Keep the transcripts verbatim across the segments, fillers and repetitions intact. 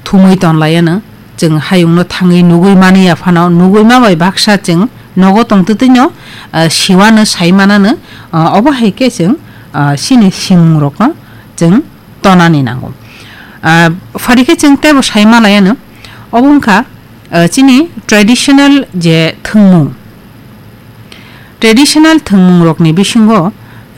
thumwi tonlaiano, chwng hayungno thangwi nugwi mani ya phano, nugwi ma bai baksa chwng nogo tongtwtwino, ah, siwano, saimanano, ah, obo hai khe chwng, ah, chini simungrokno chwng tonani nango. Ah, phari khe chwng teibo sai manlaiano, obo wngkha, ah, chini traditional je thwngmung. Traditional thwngmungrokni bisingo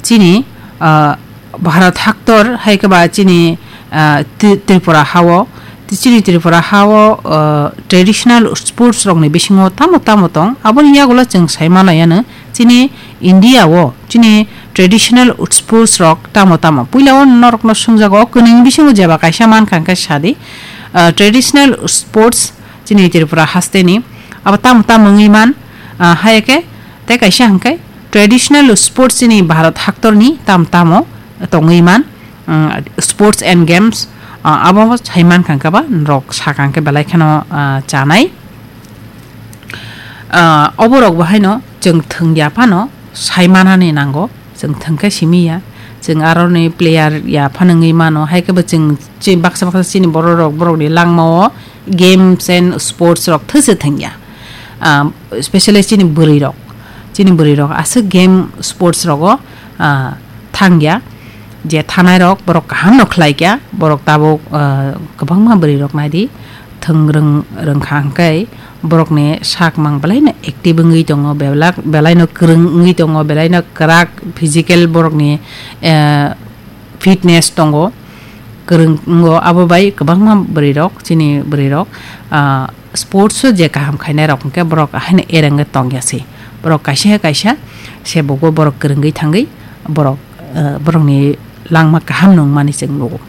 chini, ah, Bharat haktor hai khe ba chini, ah, Tri-, Tripura hao, chini Tripura hao, ah, traditional sports rokni bisingo tamo tamo tong, aboni yagulo chwng sai manlaiano chini India o chini traditional sports rok tamo tamo. Puila o norokno swngjago, o kwnwini bisingo jeba kaisa mankha hwnkhe sadi, ah, traditional sports chini Tripura hasteni abo tamo tamo wngwi man, ah, hai khe tei kaisa hwnkhe traditional sports chini Bharat haktorni tam tamo tongwi man, ah, sports and games, ah, abo sai mankha hwnkhe ba norok sakha hwnkhe belai kheno, ah, chanai. Ah, oborok bo haino chwng thwngya phano sai manani nango, chwng thwngkhe simi ya, chwng aroni player ya phano wngwi mano, hai khe bo chwng chi-, baksa baksa chini bororok borokni langmao games and sports rok thwse thwngya. Ah, specially chini bwrwirok, chini bwrwirok aswk game sports rogo, ah, thangya, je thanairok borok kahamno khlaikya, borok tabuk, ah, kwbangma bwrwirok naidi, thwng rwng-, rwngkha hwnkhe borokni sak mang belaino active wngwi tongo, belak-, belaino kwrwng wngwi tongo, belaino kwrak physical borokni, eh, fitness tongo, kwrwng wngo. Abo bai kwbangma bwrwirok, chini bwrwirok, ah, sports o je kaham khainairok hwnkhe borok haino ereng tongya se. Borok kaisa kaisa se bugo borok kwrwngwi thangwi borok, eh, borokni langma kaham nungmani chwng nugo.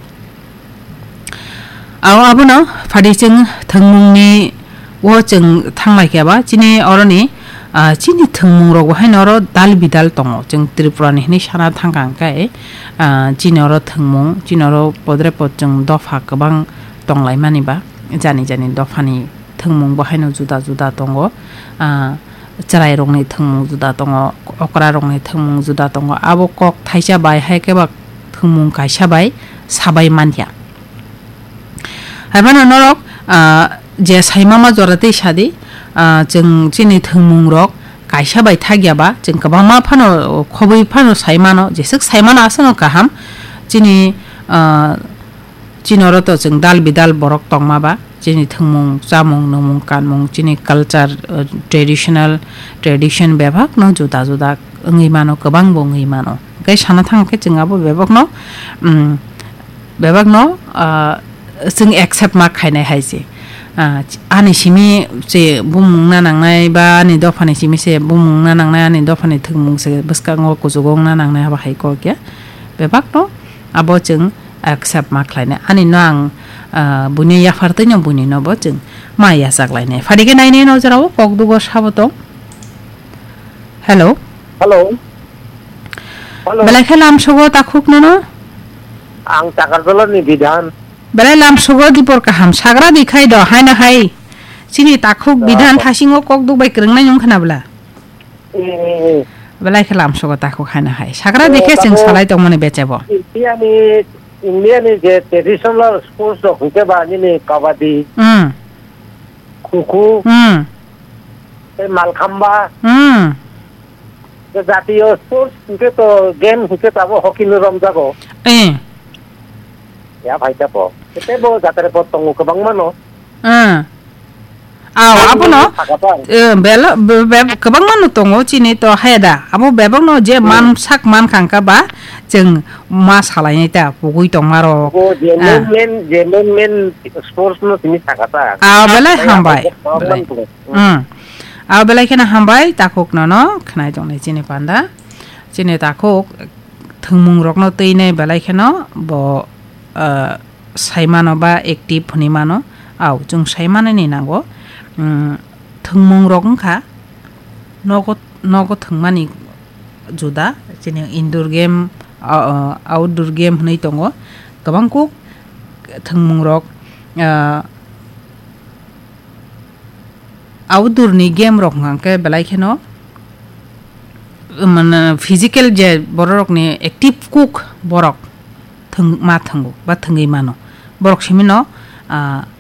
Abo abono phadi chwng thwngmungni o chwng thanglai khe ba chini oroni, ah, chini thwngmung rok bo haino oro dal bidal tongo. Chwng Tripura ni hinwi sana thangkha hwnkhe, ah, chini oro thwngmung, chini oro podre pod chwng dopha kwbang tonglaimani ba, jani jani dophani thwngmung bo haino juda juda tongo. Ah, chwrairokni thwngmung juda tongo, okrarokni thwngmung juda tongo. Abo kok thaisa bai hai khe ba thwngmung kaisa bai sabai manya. Hai phano norok, ah, je saimama jora tei sadi, ah, chwng chini thwngmungrok kaisa bai thakya ba, chwng kwbangma phano khobwi phano sai mano, jeswk sai mano aswkno kaham. Chini, ah, Chini oro to chwng dal bidal borok tongma ba, chini thwngmung, chamung, nwngmung, kanmung, chini culture, uh, traditional, tradition bebak no juda juda wngwi mano, kwbang bo wngwi mano. Hwnkhe sana thang khe chwng abo bebak no, um, bebak no, uh, chwng accept ma khainai hai se. Uh, ani simi se bumung na nangnai ba ani dopha ni simi se bumung na nangnai, ani dopha ni thwngmung se bwskango kuchugo wngna nangnai, abo hai kok ya. Bebak no abo chwng accept ma khlainai. Ani no ang, ah, buini yaphar twi no buini no bo chwng ma yachak lainai. Phadi khe nainai no jora o kok dugo sabo tong. Hello. Hello. Hello. Belai khe lam sogo takhuk no no? Ang Chakarjala ni Bidhan. Belai lam sogo dipor kaham sagra di khai do, hai na hai. Chini takhuk Bidhan thasingo kok duk bai kwrwng nai nung khna bla. Eh, eh, eh. Belai khe lamsogo takhuk haino hai. Sagra Oh, dikhe chwng tamo salai tongmani bechebo. Indiani, Indiani je traditional sports rok hwnkhe ba nini kabaddi, Hmm. Khukhu, Hmm. tei malkhamba. Hmm. Je jatiyo sports hwnkhe to game hwnkhe to abo hockey no romjago. Eh. Ya phai ta po. Tei bo jatare po tongo kwbangma no. Ah. Aw, Ang abono, nini sakha ta. Eh, belo, be-, be-, kwbangma no tongo, chini to haya da. Abo bebak no je Hmm. man sak man khangkha ba, chwng ma salai nai ta, pugui tongma rok. Bo je Ah. main, main, je main, main sports no tini sakha ta. Ah, belai Ang hambai. Ang Belai. tongo. Hmm. Ah, belai kheno hambai, takhuk no no, khnai tongnai chini panda. Chini takhuk, thwngmung rokno twi nai belai kheno bo, ah, sai mano ba active hwnwi mano. Au, chwng sai manani nango. Umm, thwngmung rok wngkha nogo, nogo thwngmani juda, chini indoor game, o, o, outdoor game hwnwi tongo. Kwbang kuk thwngmung rok, ah, outdoor ni game rok hwnkha khe belai kheno, mane, physical je borok rok ni active kuk borok thwng-, ma thwngo ba thwngwi mano. Borok simi no, ah,